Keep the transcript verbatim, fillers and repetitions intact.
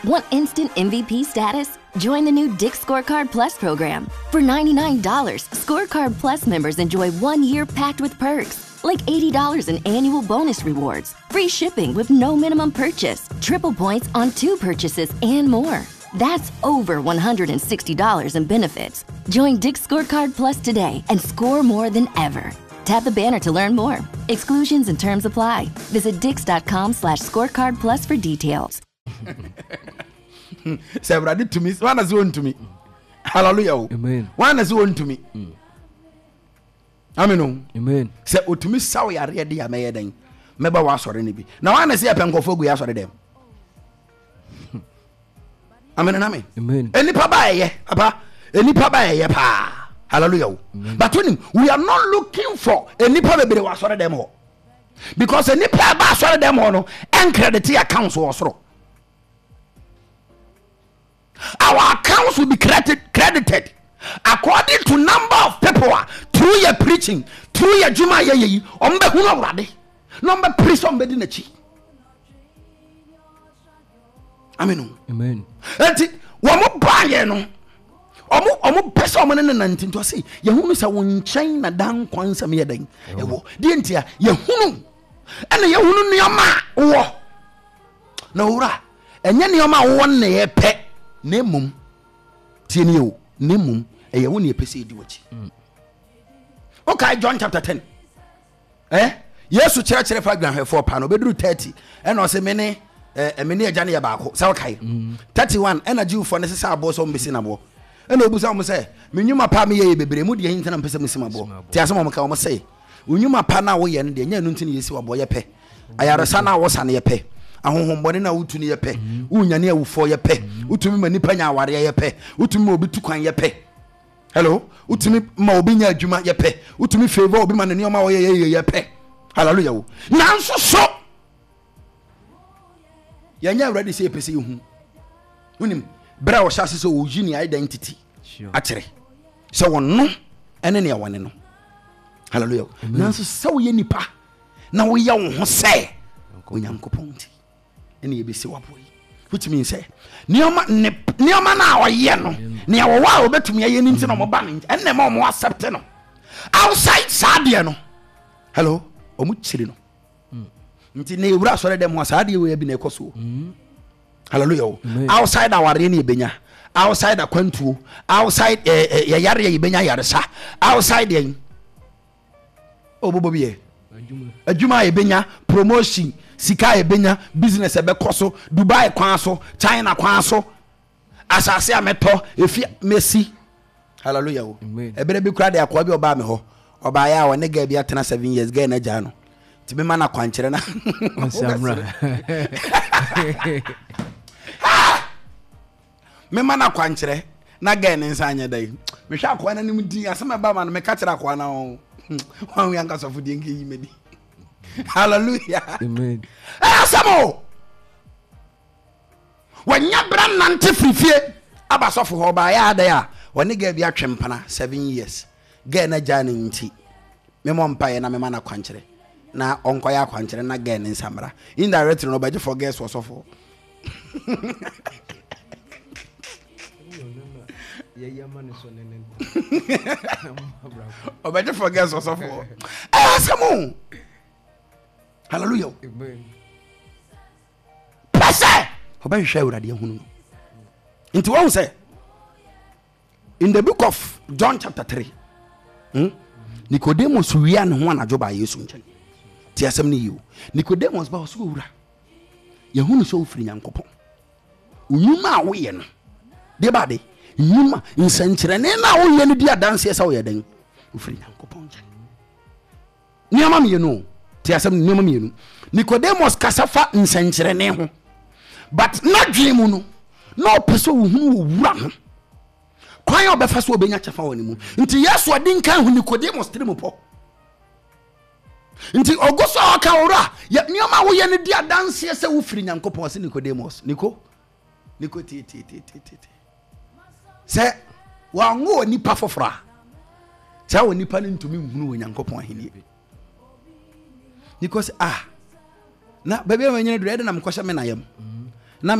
Want instant M V P status? Join the new Dick's Scorecard Plus program. For ninety-nine dollars Scorecard Plus members enjoy one year packed with perks, like eighty dollars in annual bonus rewards, free shipping with no minimum purchase, triple points on two purchases, and more. That's over one hundred sixty dollars in benefits. Join Dick's Scorecard Plus today and score more than ever. Tap the banner to learn more. Exclusions and terms apply. Visit dicks dot com slash scorecard plus for details. Sɛ Awurade tumi, wana sɛ wɔntumi? Hallelujah o. Amen. Wana sɛ wɔntumi? Amen o. Amen. Sɛ ɔtumi saw yareɛ de a, mɛyɛ dɛn? Mɛba wɔ asɔre no bi na wana sɛ yɛpɛ nkɔfoɔ agu yɛ asɔre dɛm? Amen and amen. Amen. Enipa ba ɛyɛ papa, enipa ba ɛyɛ paa. Hallelujah o. But onim, we are not looking for enipa bebree wɔ asɔre dɛm hɔ, because enipa a ɛba asɔre dɛm hɔ no ɛncredit accounts wɔ soro. Our accounts will be credited, credited according to number of people a through your preaching, through your adwuma a yɛyɛ yi, ɔmo bɛhunu Awurade na ɔmo bɛpere sɛ ɔmo bɛdi n'akyi. Amen o. Amen. Enti wɔn baayɛ no, ɔmo ɔmo pɛ sɛ ɔmo ne ne nante. Nti ɔse yɛhunu sɛ wo nkyɛn na da nkwa nsɛm yɛ dɛn ɛwɔ deɛ. Nti a yɛhunu ɛna yɛhunu nneɛma a wowɔ na owura, ɛnyɛ nneɛma a wowɔ no na yɛpɛ, na mmom tie nie o, na mmom ɛyɛ wo ne yɛpɛ sɛ yɛdi w'akyi. Wokae John chapter ten, eh? Yesu kyerɛkyerɛ fa dwanhwɛfoɔ pa no, obɛduru thirty ɛna ɔsɛ me ne eh, me ne agya no yɛ baako. Sɛ wokae thirty-one, ɛna Jewfoɔ no sesa aboɔ sɛ ɔmbɛsi naboɔ, ɛna ɔbusa wɔn sɛ, me nnwuma pa a meyɛ yɛ bebree mu deɛ ntina mpɛ sɛ mosi maboɔ? Nti asɛm a wɔka, wɔn sɛ wo nnwuma pa no a woyɛ no deɛ, nyɛ ɛno nti na yɛsi waboɔ. Yɛpɛ ayaresa no a wosa no, yɛpɛ ahohombɔne no a wotu no, yɛpɛ wonyane awufoɔ, yɛpɛ wotumi ma nnipa nya awareɛ, yɛpɛ wotumi ma obi tu kwan, yɛpɛ hello, wotumi ma obi nya adwuma, yɛpɛ wotumi favour obi ma ne nneɛma a ɔyɛ yɛyɛ, yɛpɛ. Hallelujah wo. Nanso so yɛnyɛ Awurade sɛ yɛpɛ sɛ yɛhu. Wonim berɛ a wɔhyɛ ase sɛ ɔyi ne identity Sure. akyerɛ sɛ wɔno ɛne nea wɔne no. Hallelujah. Nanso sɛ woyɛ nipa na woyɛ wo ho sɛ Onyankopɔn nti ɛne yɛbɛsi waboɔ yi, which means sɛ nneɛma ne nneɛma no a ɔyɛ no, nea wɔwɔ a wɔbɛtumi ayɛ no nti na ɔmo ba no nti ɛnna ɛma ɔmo accept no. Outside saa deɛ no, hello, ɔmo kyiri no. Nti na ewura asɔre dɛm hɔ a, saa deɛ wei bi na ɛkɔ so. Hallelujah o. Outside awareɛ ne yɛbɛnya, outside akwantuo, outside ɛɛ ɛ yɛyareɛ yɛbɛnya yaresa, outside yɛn ɔbɔbɔ bi yɛ adwuma a yɛbɛnya promotion, sika a yɛbɛnya, business ɛbɛkɔ so, Dubai kwan so, China kwan so, asase a mɛtɔ, efi mɛsi. Hallelujah o. Ɛberɛ bi kura de, akoa bi ɔbaa mi hɔ, ɔbaayɛ a ɔne girl bi atena seven years, girl no agyaa no, nti mema no akwankyerɛ na Ɔnsamra. Mema no akwankyerɛ na girl ne nsa anyɛ dɛ. Mehwɛ akoa no anim din, asɛm a ɛba ma no, meka kyerɛ akoa no, wawe ankasɔfo deɛ nkɛyi madi. Hallelujah. Amen. Ɛyɛ asɛm o. Wɔnya bra nante firi fie aba sɔfo hɔ. Ɔbaayɛ adɛ a ɔne girl bi atwe mpana seven years, girl no agyaa no, nti memmɔ mpaeɛ na mema no akwankyerɛ na ɔnkɔyɛ akwankyerɛ na girl ne nsa mmra. Indirectly no, ɔbɛgye for girls wɔ sɔfo. Yɛyɛ ma ne so ne ne Ɔbɛgye for girls wɔ sɔfo. Ɛyɛ asɛm o. Hallelujah o. Amen. Pɛ sɛ ɔbɛhwehwɛ Awurade ahunu no. Nti wɔhu sɛ in the book of John chapter three, hmm? Nicodemus wia ne ho anadwo baa Yesu nkyɛn. Ti asɛm no yie o. Nicodemus ba, ɔsɛ, "Owura, yɛhunu sɛ wofiri Nyankopɔn. Nnwuma a woyɛ no deɛ baade nnwuma nsɛnkyerɛnne no a woyɛ no di adanseɛ sɛ woyɛ dɛn? Wofiri Nyankopɔn nkyɛn." Nneɛma mmienu o. Te asɛm no, nneɛma mmienu. Nicodemus kasa fa nsɛnkyerɛnne ho, but n'adwene mu no na ɔpɛ sɛ ohunu wɔ wura ho kwan a ɔbɛfa so ɔbɛnya kyɛfa wɔ ne mu. Nti Yesu ɔde nkan hu Nicodemus tiri mu pɔ. Nti ɔgo so a ɔka, "Owura, yɛ nneɛma a woyɛ no di adanseɛ sɛ wofiri Nyankopɔn." Ɔse, "Nicodemus, Nico, Nico, tie, tie, tie, tie, tie, sɛ wɔanwo wɔ nipa foforɔ a, saa wɔ nipa no ntumi nhunu wɔ Nyankopɔn ahennie." Because ah, na baabi a manyina duru ɛde na mekɔhyɛ me na yam.